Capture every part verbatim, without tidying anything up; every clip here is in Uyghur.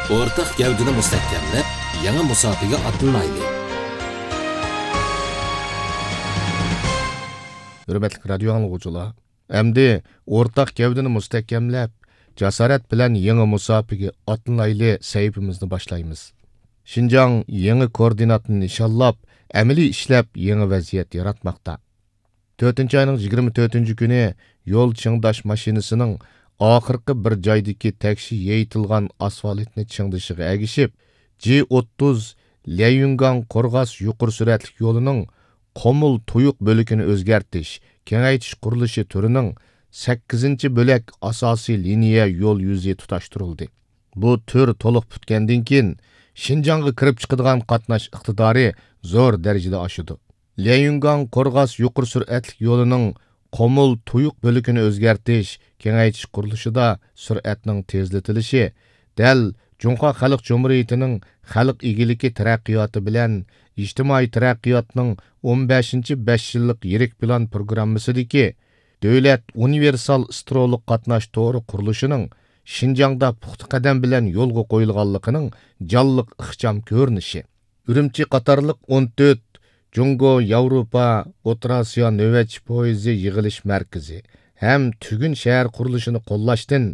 ئورتاق گەۋدىنى مۇستەھكەملەپ، يېڭى مۇساپىگە ئاتلىنايلى. ھۆرمەتلىك رادىيو ئاڭلىغۇچىلار، ئەمدى ئورتاق گەۋدىنى مۇستەھكەملەپ، جاسارەت بىلەن يېڭى مۇساپىگە ئاتلىنايلى سەھىپىمىزنى باشلايمىز. شىنجاڭ يېڭى كوئوردىناتنى نىشانلاپ، ئەمەلىي ئىشلەپ يېڭى ۋەزىيەت ياراتماقتا. تۆتىنچى ئاينىڭ يىگىرمە تۆتىنچى كۈنى يول چىڭداش ماشىنىسىنىڭ ئاخىرقى بىر جايدىكى تەكشى يېيىتىلغان ئاسفالتنى چىڭدىشىغا ئەگىشىپ، جى ئوتتۇز ليەيۈنگاڭ قورغاس يۇقىرى سۈرئەتلىك يولىنىڭ قومۇل تۇيۇق بۆلىكىنى ئۆزگەرتىش، كېڭەيتىش قۇرۇلۇشى تۈرىنىڭ سەككىزىنچى بۆلەك ئاساسىي لىنىيە يول يۈزى تۇتاشتۇرۇلدى. بۇ تۈر تولۇق پۈتكەندىن كېيىن، شىنجاڭغا كىرىپ چىقىدىغان قاتناش ئىقتىدارى زور دەرىجىدە ئاشىدۇ. ليەيۈنگاڭ قورغاس يۇقىرى سۈرئەتلىك يولىنىڭ قومۇل تۇيۇق بۆلىكىنى ئۆزگەرتىش، كېڭەيتىش قۇرۇلۇشىدا سۈرئەتنىڭ تېزلىتىلىشى دەل جۇڭخۇا خەلق جۇمھۇرىيىتىنىڭ خەلق ئىگىلىكى تەرەققىياتى بىلەن ئىجتىمائىي تەرەققىياتنىڭ ئون بەشىنچى بەش يىللىق يىرىك پىلان پروگراممىسىدىكى دۆلەت ئۇنىۋېرسال سترولۇق قاتناش تورى قۇرۇلۇشىنىڭ شىنجاڭدا پۇختا قەدەم بىلەن يولغا قويۇلغانلىقىنىڭ جانلىق ئىخچام كۆرۈنۈشى. ئۈرۈمچى قاتارلىق ئون تۆت جۇڭگو ياۋروپا ئوتتۇرا ئاسىيا نۆۋەتچى پويىزى يىغىلىش مەركىزى ھەم تۈگۈن شەھەر قۇرۇلۇشىنى قوللاشتىن،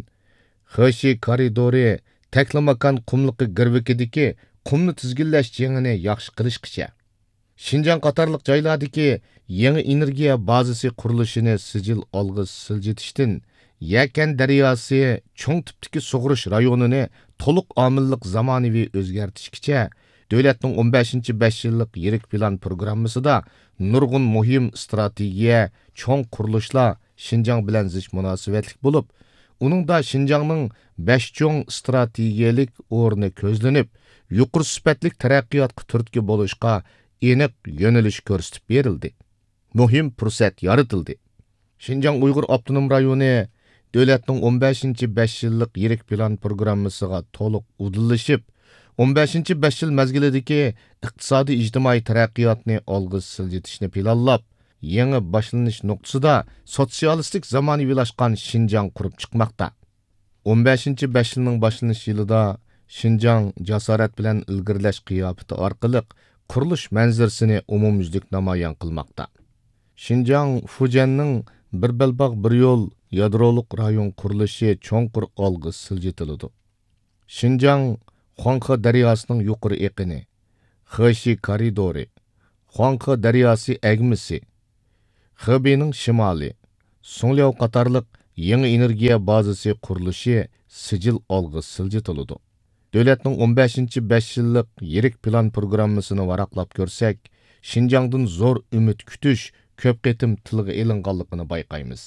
خېشى كارىدورى تەكلىماكان قۇملۇقى گىرۋىكىدىكى قۇمنى تىزگىنلەش جېڭىنى ياخشى قىلىشقىچە، شىنجاڭ قاتارلىق جايلاردىكى يېڭى ئېنېرگىيە بازىسى قۇرۇلۇشىنى سىجىل ئالغا سىلجىتىشتىن، يەكەن دەرياسى چوڭ تىپتىكى سۇغىرىش رايونىنى تولۇق ئامىللىق زامانىۋى ئۆزگەرتىشكىچە، دۆلەتنىڭ ئون بەشىنچى بەش يىللىق يىرىك پىلان پروگراممىسىدا نۇرغۇن مۇھىم ئىستراتېگىيە، چوڭ قۇرۇلۇشلار شىنجاڭ بىلەن زىچ مۇناسىۋەتلىك بولۇپ، ئۇنىڭدا شىنجاڭنىڭ بەش چوڭ ئىستراتېگىيەلىك ئورنى كۆزلىنىپ، يۇقىرى سۈپەتلىك تەرەققىياتقا تۈرتكە بولۇشقا ئېنىق يۆنىلىش كۆرسىتىپ بېرىلدى. مۇھىم پۇرسەت يارىتىلدى. شىنجاڭ ئۇيغۇر ئاپتونوم رايونى دۆلەتنىڭ ئون بەشىنچى بەش يىللىق يىرىك پىلان پروگراممىسىغا تولۇق ئۇدۇللىشىپ، ئون بەشىنچى بەش يىل مەزگىلىدىكى ئىقتىسادىي ئىجتىمائىي تەرەققىياتنى ئالغا سىلجىتىشنى پىلانلاپ، يېڭى باشلىنىش نۇقتىسىدا سوتسىيالىستىك زامانىۋىلاشقان شىنجاڭ قۇرۇپ چىقماقتا. ئون بەشىنچى بەش يىلنىڭ باشلىنىش يىلىدا شىنجاڭ جاسارەت بىلەن ئىلگىرىلەش قىياپىتى ئارقىلىق قۇرۇلۇش مەنزىرىسىنى ئومۇميۈزلۈك نامايان قىلماقتا. شىنجاڭ فۇجيەننىڭ بىر بەلباغ بىر يول يادرولۇق رايون قۇرۇلۇشى چوڭقۇر ئالغا سىلجىتىلىدۇ. شىنجاڭ خۇاڭخې دەرياسىنىڭ يۇقىرى ئېقىنى، خېشى كارىدورى، خۇاڭخې دەرياسى ئەگمىسى، خېبېينىڭ شىمالى، سۇڭلياۋ قاتارلىق يېڭى ئېنېرگىيە بازىسى قۇرۇلۇشى سىجىل ئالغا سىلجىتىلىدۇ. دۆلەتنىڭ ئون بەشىنچى بەش يىللىق يىرىك پىلان پروگراممىسىنى ۋاراقلاپ كۆرسەك، شىنجاڭدىن زور ئۈمىد كۈتۈش كۆپ قېتىم تىلغا ئېلىنغانلىقىنى بايقايمىز.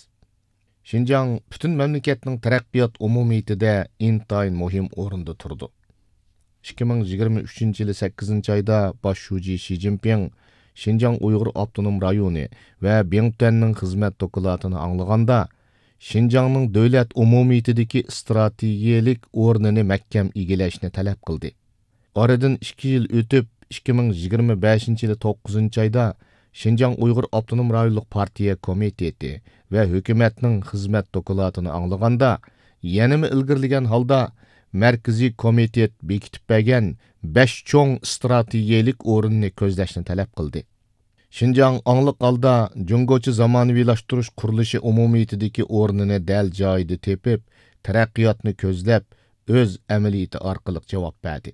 شىنجاڭ پۈتۈن مەملىكەتنىڭ تەرەققىيات ئومۇمىيىتىدە ئىنتايىن مۇھىم ئورۇندا تۇرىدۇ. ئىككى مىڭ يىگىرمە ئۈچىنچى يىلى سەككىزىنچى ئايدا باش شۇجى شى جىنپىڭ شىنجاڭ ئۇيغۇر ئاپتونوم رايونى ۋە بىڭتۈەننىڭ خىزمەت دوكلاتىنى ئاڭلىغاندا، شىنجاڭنىڭ دۆلەت ئومۇمىيىتىدىكى ئىستراتېگىيەلىك ئورنىنى مەھكەم ئىگىلەشنى تەلەپ قىلدى. ئارىدىن ئىككى يىل ئۆتۈپ، ئىككى مىڭ يىگىرمە بەشىنچى يىلى توققۇزىنچى ئايدا شىنجاڭ ئۇيغۇر ئاپتونوم رايونلۇق پارتىيە كومىتېتى ۋە ھۆكۈمەتنىڭ خىزمەت دوكلاتىنى ئاڭلىغاندا، يەنىمۇ ئىلگىرىلىگەن ھالدا مەركىزىي كومىتېت بېكىتىپ بەرگەن بەش چوڭ ئىستراتېگىيەلىك ئورۇننى كۆزلەشنى تەلەپ قىلدى. شىنجاڭ ئاڭلىق ھالدا جۇڭگوچە زامانىۋىلاشتۇرۇش قۇرۇلۇشى ئومۇمىيىتىدىكى ئورنىنى دەل جايىدا تېپىپ، تەرەققىياتنى كۆزلەپ، ئۆز ئەمەلىيىتى ئارقىلىق جاۋاب بەردى.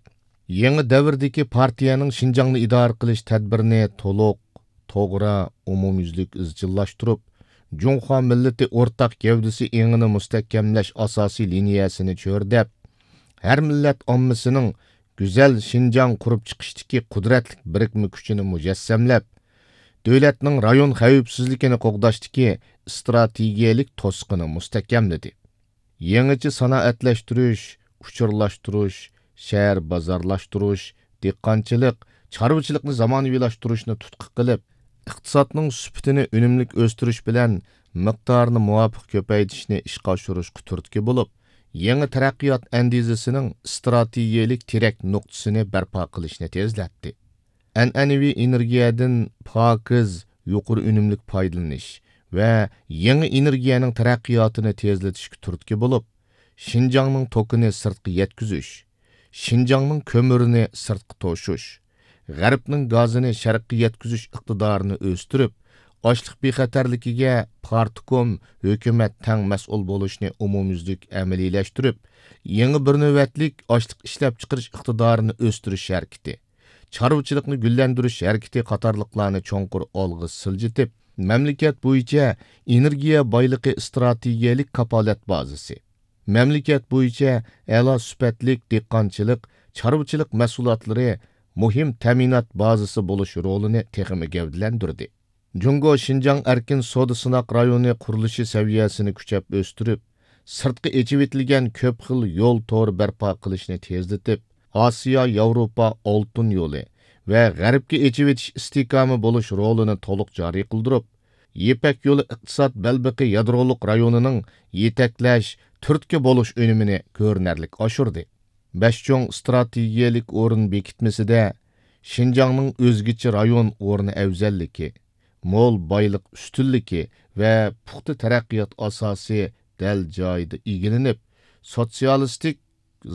يېڭى دەۋردىكى پارتىيەنىڭ شىنجاڭنى ئىدارە قىلىش تەدبىرىنى تولۇق، توغرا، ئومۇميۈزلۈك ئىزچىللاشتۇرۇپ، جۇڭخۇا مىللىتى ئورتاق گەۋدىسى ئېڭىنى مۇستەھكەملەش ئاساسىي لىنىيەسىنى چۆرىدەپ، ھەر مىللەت ئاممىسىنىڭ گۈزەل شىنجاڭ قۇرۇپ چىقىشتىكى قۇدرەتلىك بىرىكمە كۈچىنى مۇجەسسەملەپ، دۆلەتنىڭ رايون خەۋپسىزلىكىنى قوغداشتىكى ئىستراتېگىيەلىك توسۇقىنى مۇستەھكەملىدى. يېڭىچە سانائەتلەشتۈرۈش، ئۇچۇرلاشتۇرۇش، شەھەر بازارلاشتۇرۇش، دېھقانچىلىق، چارۋىچىلىقنى زامانىۋىلاشتۇرۇشنى تۇتقا قىلىپ، ئىقتىسادنىڭ سۈپىتىنى ئۈنۈملۈك ئۆستۈرۈش بىلەن مىقدارىنى مۇۋاپىق كۆپەيتىشنى ئىشقا ئاشۇرۇشقا تۈرتكە بولۇپ، يېڭى تەرەققىيات ئەندىزىسىنىڭ ئىستراتېگىيەلىك تىرەك نۇقتىسىنى بەرپا قىلىشنى تېزلەتتى. ئەنئەنىۋى ئېنېرگىيەدىن پاكىز، يۇقىرى ئۈنۈملۈك پايدىلىنىش ۋە يېڭى ئېنېرگىيەنىڭ تەرەققىياتىنى تېزلىتىشكە تۈرتكە بولۇپ، شىنجاڭنىڭ توكىنى سىرتقا يەتكۈزۈش، شىنجاڭنىڭ كۆمۈرىنى سىرتقا توشۇش، غەربنىڭ گازىنى شەرققە يەتكۈزۈش ئىقتىدارىنى ئۆستۈرۈپ، ئاشلىق بىخەتەرلىكىگە پارتكوم، ھۆكۈمەت تەڭ مەسئۇل بولۇشنى ئومۇميۈزلۈك ئەمەلىيلەشتۈرۈپ، يېڭى بىر نۆۋەتلىك ئاشلىق ئىشلەپچىقىرىش ئىقتىدارىنى ئۆستۈرۈش ھەرىكىتى، چارۋىچىلىقنى گۈللەندۈرۈش ھەرىكىتى قاتارلىقلارنى چوڭقۇر ئالغا سىلجىتىپ، مەملىكەت بويىچە ئېنېرگىيە بايلىقى ئىستراتېگىيەلىك كاپالەت بازىسى، مەملىكەت بويىچە ئەلا سۈپەتلىك دېھقانچىلىق، چارۋىچىلىق مەھسۇلاتلىرى مۇھىم تەمىنات بازىسى بولۇش رولىنى تېخىمۇ گەۋدىلەندۈردى. جۇڭگو شىنجاڭ ئەركىن سودا سىناق رايونى قۇرۇلۇشى سەۋىيەسىنى كۈچەپ ئۆستۈرۈپ، سىرتقا ئېچىۋېتىلگەن كۆپ خىل يول تورى بەرپا قىلىشنى تېزلىتىپ، ئاسىيا ياۋروپا ئالتۇن يولى ۋە غەربكە ئېچىۋېتىش ئىستىھكامى بولۇش رولىنى تولۇق جارى قىلدۇرۇپ، يىپەك يولى ئىقتىساد بەلبېقى يادرولۇق رايونىنىڭ يېتەكلەش، تۈرتكە بولۇش ئۈنۈمىنى كۆرۈنەرلىك ئاشۇردى. بەش چوڭ ئىستراتېگىيەلىك ئورۇن بېكىتمىسىدە شىنجاڭنىڭ ئۆزگىچە رايون ئورنى ئەۋزەللىكى، مول بايلىق ئۈستۈنلۈكى ۋە پۇختا تەرەققىيات ئاساسى دەل جايىدا ئىگىلىنىپ، سوتسىيالىستىك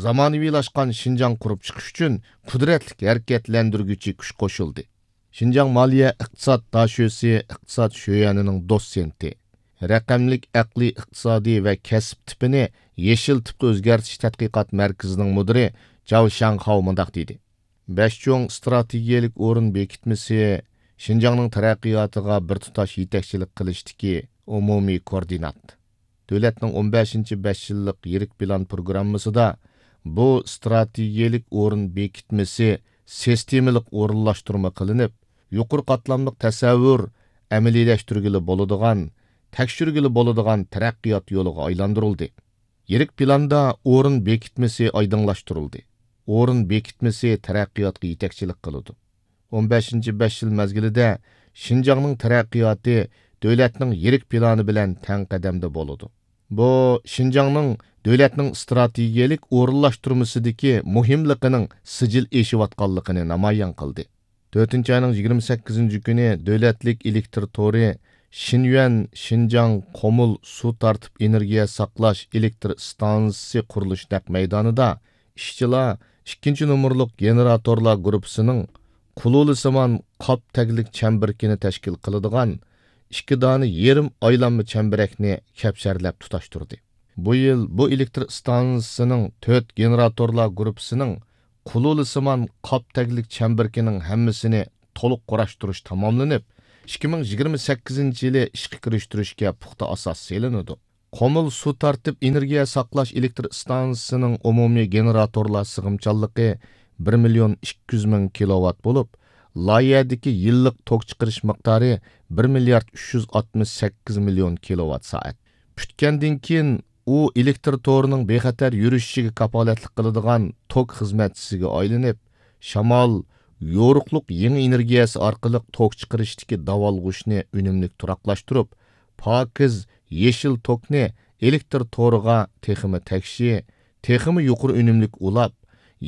زامانىۋىلاشقان شىنجاڭ قۇرۇپ چىقىش ئۈچۈن قۇدرەتلىك ھەرىكەتلەندۈرگۈچى كۈچ قوشۇلدى. شىنجاڭ مالىيە ئىقتىساد داشۆسى ئىقتىساد شۆيەنىنىڭ دوتسېنتى، رەقەملىك ئەقلىي ئىقتىسادىي ۋە كەسىپ تىپىنى يېشىل تىپقا ئۆزگەرتىش تەتقىقات مەركىزىنىڭ مۇدىرى جاۋ شياڭخاۋ مۇنداق دېدى: بەش چوڭ ئىستراتېگىيەلىك ئورۇن بېكىتمىسى شىنجاڭنىڭ تەرەققىياتىغا بىر تۇتاش يېتەكچىلىك قىلىشتىكى ئومۇمىي كوئوردىنات. دۆلەتنىڭ ئون بەشىنچى بەش يىللىق يىرىك پىلان پروگراممىسىدا بۇ ئىستراتېگىيەلىك ئورۇن بېكىتمىسى سىستېمىلىق ئورۇنلاشتۇرما قىلىنىپ، يۇقىرى قاتلاملىق تەسەۋۋۇر، ئەمەلىيلەشتۈرگىلى بولىدىغان، تەكشۈرگىلى بولىدىغان تەرەققىيات يولىغا ئايلاندۇرۇلدى. يىرىك پىلاندا ئورۇن بېكىتمىسى ئايدىڭلاشتۇرۇلدى. ئورۇن بېكىتمىسى تەرەققىياتقا يېتەكچىلىك قىلىدۇ. ئون بەشىنچى بەش يىل مەزگىلىدە شىنجاڭنىڭ تەرەققىياتى دۆلەتنىڭ يىرىك پىلانى بىلەن تەڭ قەدەمدە بولىدۇ. بۇ شىنجاڭنىڭ دۆلەتنىڭ ئىستراتېگىيەلىك ئورۇنلاشتۇرمىسىدىكى مۇھىملىقىنىڭ سىجىل ئېشىۋاتقانلىقىنى نامايان قىلدى. تۆتىنچى ئاينىڭ يىگىرمە سەككىزىنچى كۈنى دۆلەتلىك ئېلېكتر تورى شىنيۈەن شىنجاڭ قومۇل سۇ تارتىپ ئېنېرگىيە ساقلاش ئېلېكتر ئىستانسىسى قۇرۇلۇشى نەق مەيدانىدا ئىشچىلار ئىككىنچى نومۇرلۇق گېنېراتورلار گۇرۇپپىسىنىڭ قۇلۇلىسىمان قاپ تەگلىك چەمبىرىكىنى تەشكىل قىلىدىغان ئىككى دانە يېرىم ئايلانما چەمبىرەكنى كەپشەرلەپ تۇتاشتۇردى. بۇ يىل بۇ ئېلېكتر ئىستانسىسىنىڭ تۆت گېنېراتورلار گۇرۇپپىسىنىڭ قۇلۇلىسىمان قاپ تەگلىك چەمبىرىكىنىڭ ھەممىسىنى تولۇق قۇراشتۇرۇش تاماملىنىپ، ئىككى مىڭ يىگىرمە سەككىزىنچى يىلى ئىشقا كىرىشتۈرۈشكە پۇختا ئاساس سېلىنىدۇ. قومۇل سۇ تارتىپ ئېنېرگىيە ساقلاش ئېلېكتر ئىستانسىسىنىڭ ئومۇمىي گېنېراتورلار سىغىمچانلىقى بىر مىليون ئىككى يۈز مىڭ كىلوۋات بولۇپ، لايىھەدىكى يىللىق توك چىقىرىش مىقدارى بىر مىليارد ئۈچ يۈز ئاتمىش سەككىز مىليون كىلوۋات سائەت. پۈتكەندىن كېيىن، ئۇ ئېلېكتر تورىنىڭ بىخەتەر يۈرۈشۈشىگە كاپالەتلىك قىلىدىغان توك خىزمەتچىسىگە ئايلىنىپ، شامال، يورۇقلۇق يېڭى ئېنېرگىيەسى ئارقىلىق توك چىقىرىشتىكى داۋالغۇشنى ئۈنۈملۈك تۇراقلاشتۇرۇپ، پاكىز، يېشىل توكنى ئېلېكتر تورىغا تېخىمۇ تەكشى، تېخىمۇ يۇقىرى ئۈنۈملۈك ئۇلاپ،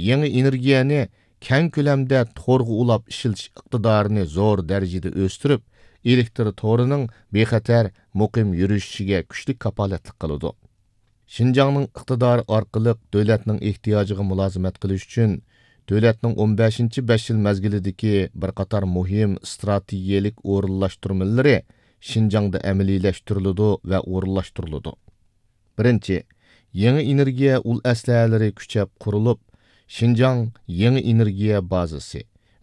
يېڭى ئېنېرگىيەنى كەڭ كۆلەمدە تورغا ئۇلاپ ئىشلىتىش ئىقتىدارىنى زور دەرىجىدە ئۆستۈرۈپ، ئېلېكتر تورىنىڭ بىخەتەر، مۇقىم يۈرۈشۈشىگە كۈچلۈك كاپالەتلىك قىلىدۇ. شىنجاڭنىڭ ئىقتىدارى ئارقىلىق دۆلەتنىڭ ئېھتىياجىغا مۇلازىمەت قىلىش ئۈچۈن، دۆلەتنىڭ ئون بەشىنچى بەش يىل مەزگىلىدىكى بىر قاتار مۇھىم ئىستراتېگىيەلىك ئورۇنلاشتۇرمىلىرى شىنجاڭدا ئەمەلىيلەشتۈرۈلىدۇ ۋە ئورۇنلاشتۇرۇلىدۇ. بىرىنچى، يېڭى ئېنېرگىيە ئۇل ئەسلىھەلىرى كۈچەپ قۇرۇلۇپ، شىنجاڭ يېڭى ئېنېرگىيە بازىسى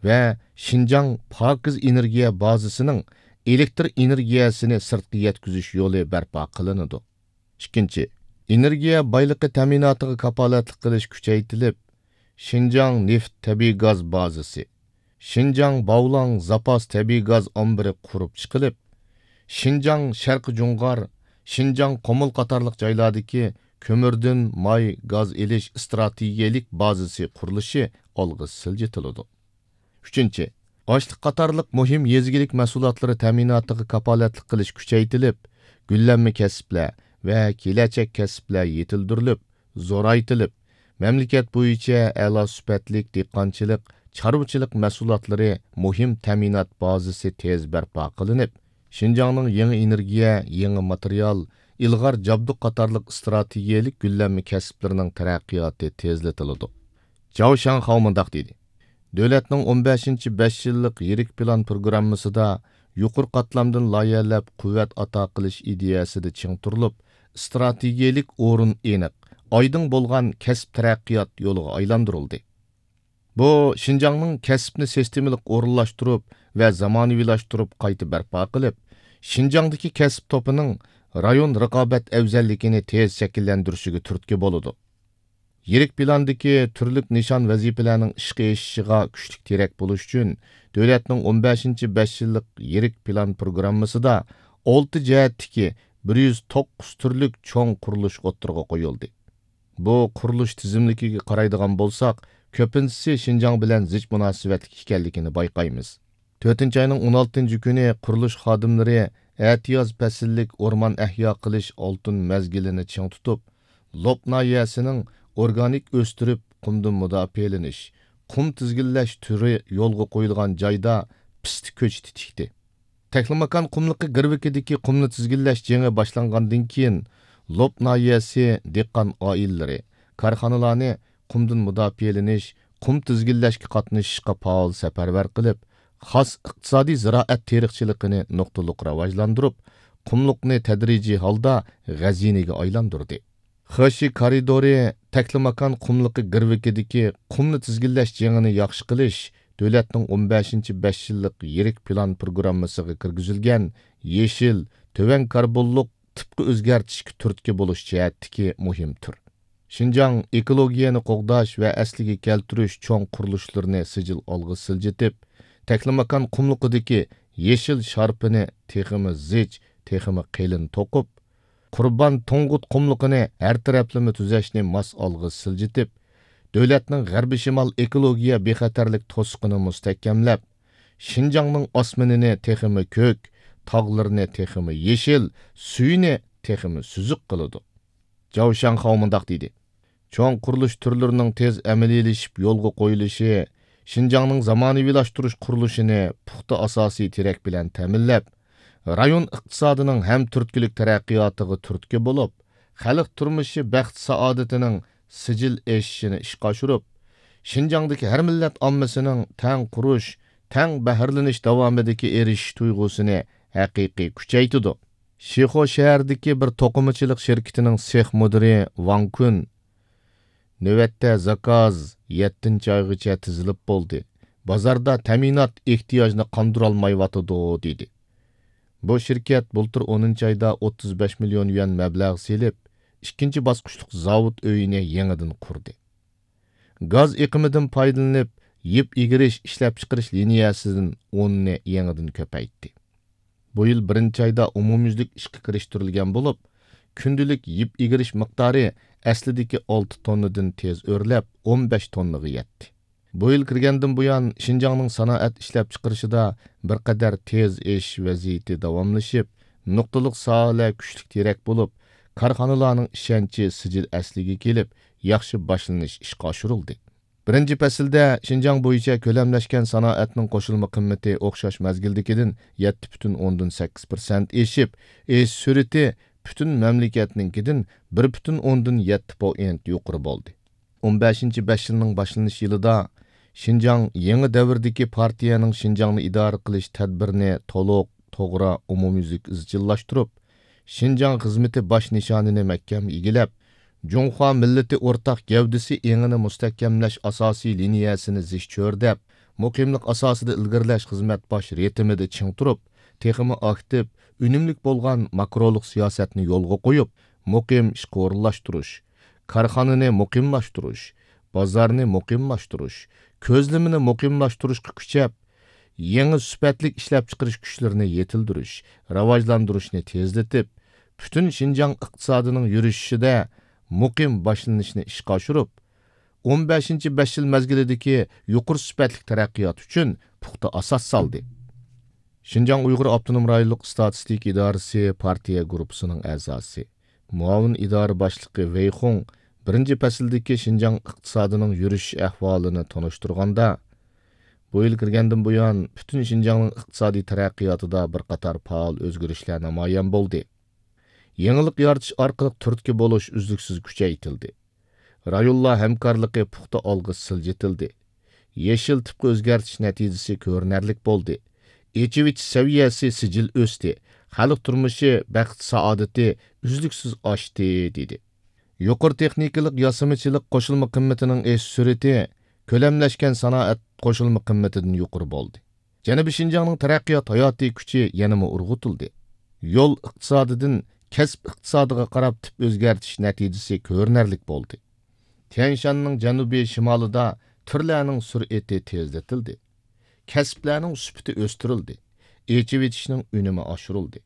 ۋە شىنجاڭ پاكىز ئېنېرگىيە بازىسىنىڭ ئېلېكتر ئېنېرگىيەسىنى سىرتقا يەتكۈزۈش يولى بەرپا قىلىنىدۇ. ئىككىنچى، ئېنېرگىيە بايلىقى تەمىناتىغا كاپالەتلىك قىلىش كۈچەيتىلىپ، شىنجاڭ نېفىت تەبىئىي گاز بازىسى، شىنجاڭ باۋلاڭ زاپاس تەبىئىي گاز ئامبىرى قۇرۇپ چىقىلىپ، شىنجاڭ شەرقىي جۇڭغار، شىنجاڭ قۇمۇل قاتارلىق جايلاردىكى كۆمۈردىن ماي گاز ئېلىش ئىستراتېگىيەلىك بازىسى قۇرۇلۇشى ئالغا سىلجىتىلىدۇ. ئۈچىنچى، ئاشلىق قاتارلىق مۇھىم يېزا ئىگىلىك مەھسۇلاتلىرى تەمىناتىغا كاپالەتلىك قىلىش كۈچەيتىلىپ، گۈللەنمە كەسىپلەر ۋە كېلەچەك كەسىپلەر يېتىلدۈرۈلۈپ، زورايتىلىپ، مەملىكەت بويىچە ئەلا سۈپەتلىك دېھقانچىلىق، چارۋىچىلىق مەھسۇلاتلىرى مۇھىم تەمىنات بازىسى تېز بەرپا قىلىنىپ، شىنجاڭنىڭ يېڭى ئېنېرگىيە، يېڭى ماتېرىيال، ئىلغار جابدۇق قاتارلىق ئىستراتېگىيەلىك گۈللەنمە كەسىپلىرىنىڭ تەرەققىياتى تېزلىتىلىدۇ. جاۋ شاڭخاۋ مۇنداق دېدى: دۆلەتنىڭ ئون بەشىنچى بەش يىللىق يىرىك پىلان پروگراممىسىدا يۇقىرى قاتلامدىن لايىھەلەپ قۇۋۋەت ئاتا قىلىش ئىدىيەسىدە چىڭ تۇرۇلۇپ، ئىستراتېگىيەلىك ئورۇن ئېنىق، ئايدىڭ بولغان كەسىپ تەرەققىيات يولىغا ئايلاندۇرۇلدى. بۇ شىنجاڭنىڭ كەسىپنى سىستېمىلىق ئورۇنلاشتۇرۇپ ۋە زامانىۋىلاشتۇرۇپ قايتا بەرپا قىلىپ، شىنجاڭدىكى كەسىپ توپىنىڭ رايون رىقابەت ئەۋزەللىكىنى تېز شەكىللەندۈرۈشىگە تۈرتكە بولىدۇ. يىرىك پىلاندىكى تۈرلۈك نىشان ۋەزىپىلەرنىڭ ئىشقا ئېشىشىغا كۈچلۈك تىرەك بولۇش ئۈچۈن، دۆلەتنىڭ ئون بەشىنچى بەش يىللىق يىرىك پىلان پروگراممىسىدا ئالتە جەھەتتىكى بىر يۈز توققۇز تۈرلۈك چوڭ قۇرۇلۇش ئوتتۇرىغا قويۇلدى. بۇ قۇرۇلۇش تىزىملىكىگە قارايدىغان بولساق، كۆپىنچىسى شىنجاڭ بىلەن زىچ مۇناسىۋەتلىك ئىكەنلىكىنى بايقايمىز. تۆتىنچى ئاينىڭ ئون ئالتىنچى كۈنى قۇرۇلۇش خادىملىرى ئەتىياز پەسىللىك ئورمان ئەھيا قىلىش ئالتۇن مەزگىلىنى چىڭ تۇتۇپ، لوپ ناھىيەسىنىڭ ئورگانىك ئۆستۈرۈپ، قۇمدىن مۇداپىئەلىنىش، قۇم تىزگىنلەش تۈرى يولغا قويۇلغان جايدا پىستە كۆچىتى تىكتى. تەكلىماكان قۇملۇقى گىرۋىكىدىكى قۇمنى تىزگىنلەش جېڭى باشلانغاندىن كېيىن، لوپ ناھىيەسى دېھقان ئائىلىلىرى، كارخانىلارنى قۇمدىن مۇداپىئەلىنىش، قۇم تىزگىنلەشكە قاتنىشىشقا پائال سەپەرۋەر قىلىپ، خاس ئىقتىسادىي زىرائەت تېرىقچىلىقىنى نۇقتىلىق راۋاجلاندۇرۇپ، قۇملۇقنى تەدرىجىي ھالدا غەزىنىگە ئايلاندۇردى. خېشى كارىدورى تەكلىماكان قۇملۇقى گىرۋىكىدىكى قۇمنى تىزگىنلەش جېڭىنى ياخشى قىلىش دۆلەتنىڭ ئون بەشىنچى بەش يىللىق يىرىك پىلان پروگراممىسىغا كىرگۈزۈلگەن يېشىل، تۆۋەن كاربونلۇق تىپقا ئۆزگەرتىشكە تۈرتكە بولۇش جەھەتتىكى مۇھىم تۈر. شىنجاڭ ئېكولوگىيەنى قوغداش ۋە ئەسلىگە كەلتۈرۈش چوڭ قۇرۇلۇشلىرىنى سىجىل ئالغا سىلجىتىپ، تەكلىماكان قۇملۇقىدىكى يېشىل شارپىنى تېخىمۇ زىچ، تېخىمۇ قېلىن توقۇپ، قۇربان تۇڭگۇت قۇملۇقىنى ھەر تەرەپلىمە تۈزەشنى ماس ئالغا سىلجىتىپ، دۆلەتنىڭ غەربىي شىمال ئېكولوگىيە بىخەتەرلىك توسۇقىنى مۇستەھكەملەپ، شىنجاڭنىڭ ئاسمىنىنى تېخىمۇ كۆك، تاغلىرىنى تېخىمۇ يېشىل، سۈيىنى تېخىمۇ سۈزۈك قىلىدۇ. جاۋ شاڭخاۋ مۇنداق دېدى: چوڭ قۇرۇلۇش تۈرلىرىنىڭ تېز ئەمەلىيلىشىپ يولغا قويۇلۇشى شىنجاڭنىڭ زامانىۋىلاشتۇرۇش قۇرۇلۇشىنى پۇختا ئاساسىي تىرەك بىلەن تەمىنلەپ، رايون ئىقتىسادىنىڭ ھەم تۈرتكىلىك تەرەققىياتىغا تۈرتكە بولۇپ، خەلق تۇرمۇشى بەخت-سائادىتىنىڭ سىجىل ئېشىشىنى ئىشقا ئاشۇرۇپ، شىنجاڭدىكى ھەر مىللەت ئاممىسىنىڭ تەڭ قۇرۇش، تەڭ بەھرىلىنىش داۋامىدىكى ئېرىشىش تۇيغۇسىنى ھەقىقىي كۈچەيتىدۇ. شىخۇ شەھىرىدىكى بىر توقۇمىچىلىق شىركىتىنىڭ سېخ مۇدىرى ۋاڭ كۈن، نۆۋەتتە زاكاز يەتتىنچى ئايغىچە تىزىلىپ بولدى. بازاردا تەمىنات ئېھتىياجنى قاندۇرالمايۋاتىدۇ، دېدى. بۇ شىركەت بۇلتۇر ئونىنچى ئايدا ئوتتۇز بەش مىليون يۈەن مەبلەغ سېلىپ، ئىككىنچى باسقۇچلۇق زاۋۇت ئۆيىنى يېڭىدىن قۇردى. گاز ئېقىمىدىن پايدىلىنىپ، يىپ ئىگىرىش ئىشلەپچىقىرىش لىنىيەسىدىن ئوننى يېڭىدىن كۆپەيتتى. بۇ يىل بىرىنچى ئايدا ئومۇميۈزلۈك ئىشقا كىرىشتۈرۈلگەن بولۇپ، كۈندىلىك يىپ ئىگىرىش مىقدارى ئەسلىدىكى ئالتە توننىدىن تېز ئۆرلەپ، ئون بەش توننىغا يەتتى. بۇ يىل كىرگەندىن بۇيان، شىنجاڭنىڭ سانائەت ئىشلەپچىقىرىشىدا بىر قەدەر تېز ئېشىش ۋەزىيىتى داۋاملىشىپ، نۇقتىلىق ساھەلەر كۈچلۈك تىرەك بولۇپ، كارخانىلارنىڭ ئىشەنچى سىجىل ئەسلىگە كېلىپ، ياخشى باشلىنىش ئىشقا ئاشۇرۇلدى. بىرىنچى پەسىلدە شىنجاڭ بويىچە كۆلەملەشكەن سانائەتنىڭ قوشۇلما قىممىتى ئوخشاش مەزگىلدىكىدىن يەتتە پۈتۈن ئوندىن سەككىز پىرسەنت ئېشىپ، ئېشىش سۈرئىتى پۈتۈن مەملىكەتنىڭكىدىن بىر پۈتۈن ئوندىن يەتتە پوئىنت يۇقىرى بولدى. ئون بەشىنچى بەش يىلنىڭ باشلىنىش يىلىدا شىنجاڭ يېڭى دەۋردىكى پارتىيەنىڭ شىنجاڭنى ئىدارە قىلىش تەدبىرىنى تولۇق، توغرا، ئومۇميۈزلۈك ئىزچىللاشتۇرۇپ، شىنجاڭ خىزمىتى باش نىشانىنى مەھكەم ئىگىلەپ، جۇڭخۇا مىللىتى ئورتاق گەۋدىسى ئېڭىنى مۇستەھكەملەش ئاساسىي لىنىيەسىنى زىچ چۆرىدەپ، مۇقىملىق ئاساسىدا ئىلگىرىلەش خىزمەت باش رىتىمىدا چىڭ تۇرۇپ، تېخىمۇ ئاكتىپ، ئۈنۈملۈك بولغان ماكرولۇق سىياسەتنى يولغا قويۇپ، مۇقىم ئىشقا ئورۇنلاشتۇرۇش، كارخانىنى مۇقىملاشتۇرۇش، بازارنى مۇقىملاشتۇرۇش، كۆزلىمىنى مۇقىملاشتۇرۇشقا كۈچەپ، يېڭى سۈپەتلىك ئىشلەپچىقىرىش كۈچلىرىنى يېتىلدۈرۈش، راۋاجلاندۇرۇشنى تېزلىتىپ، پۈتۈن شىنجاڭ ئىقتىسادىنىڭ يۈرۈشۈشىدە مۇقىم باشلىنىشنى ئىشقا ئاشۇرۇپ، ئون بەشىنچى بەش يىل مەزگىلىدىكى يۇقىرى سۈپەتلىك تەرەققىيات ئۈچۈن پۇختا ئاساس سالدى. شىنجاڭ ئۇيغۇر ئاپتونوم رايونلۇق ئىستاتىستىكا ئىدارىسى پارتىيە گۇرۇپپىسىنىڭ ئەزاسى، مۇئاۋىن ئىدارە باشلىقى ۋېي خۇڭ بىرىنچى پەسىلدىكى شىنجاڭ ئىقتىسادىنىڭ يۈرۈشۈش ئەھۋالىنى تونۇشتۇرغاندا، بۇ يىل كىرگەندىن بۇيان، پۈتۈن شىنجاڭنىڭ ئىقتىسادىي تەرەققىياتىدا بىر قاتار پائال ئۆزگىرىشلەر نامايان بولدى. يېڭىلىق يارىتىش ئارقىلىق تۈرتكە بولۇش ئۈزلۈكسىز كۈچەيتىلدى. رايونلار ھەمكارلىقى پۇختا ئالغا سىلجىتىلدى. يېشىل تىپقا ئۆزگەرتىش نەتىجىسى كۆرۈنەرلىك بولدى. ئېچىۋېتىش سەۋىيەسى سىجىل ئۆستى. خەلق تۇرمۇشى، بەخت-سائادىتى ئۈزلۈكسىز ئاشتى، دېدى. يۇقىرى تېخنىكىلىق ياسىمىچىلىق قوشۇلما قىممىتىنىڭ ئېشىش سۈرئىتى كۆلەملەشكەن سانائەت قوشۇلما قىممىتىدىن يۇقىرى بولدى. جەنۇبىي شىنجاڭنىڭ تەرەققىيات ھاياتىي كۈچى يەنىمۇ ئۇرغۇتۇلدى. يول ئىقتىسادىدىن كەسىپ ئىقتىسادىغا قاراپ تىپ ئۆزگەرتىش نەتىجىسى كۆرۈنەرلىك بولدى. تيەنشاننىڭ جەنۇبىي شىمالىدا تۈرلەرنىڭ سۈرئىتى تېزلىتىلدى. كەسىپلەرنىڭ سۈپىتى ئۆستۈرۈلدى. ئېچىۋېتىشنىڭ ئۈنۈمى ئاشۇرۇلدى.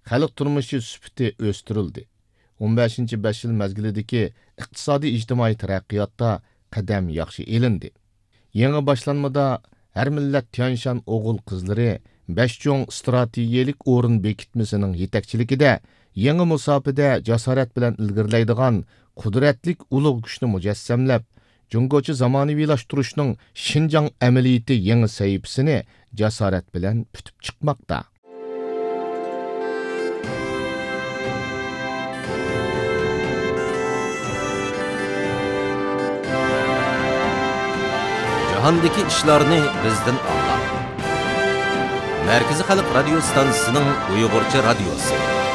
خەلق تۇرمۇشى سۈپىتى ئۆستۈرۈلدى. ئون بەشىنچى بەش يىل مەزگىلىدىكى ئىقتىسادىي ئىجتىمائىي تەرەققىياتتا قەدەم ياخشى ئېلىندى. يېڭى باشلانمىدا ھەر مىللەت تيەنشان ئوغۇل-قىزلىرى بەش چوڭ ئىستراتېگىيەلىك ئورۇن بېكىتمىسىنىڭ يېتەكچىلىكىدە يېڭى مۇساپىدە جاسارەت بىلەن ئىلگىرىلەيدىغان قۇدرەتلىك ئۇلۇغ كۈچنى مۇجەسسەملەپ، جۇڭگوچە زامانىۋىلاشتۇرۇشنىڭ شىنجاڭ ئەمەلىيىتى يېڭى سەھىپىسىنى جاسارەت بىلەن پۈتۈپ چىقماقتا. جاھاندىكى ئىشلارنى بىزدىن ئاڭلاڭ. مەركىزىي خەلق رادىيو ستانسىسىنىڭ ئۇيغۇرچە رادىيوسى.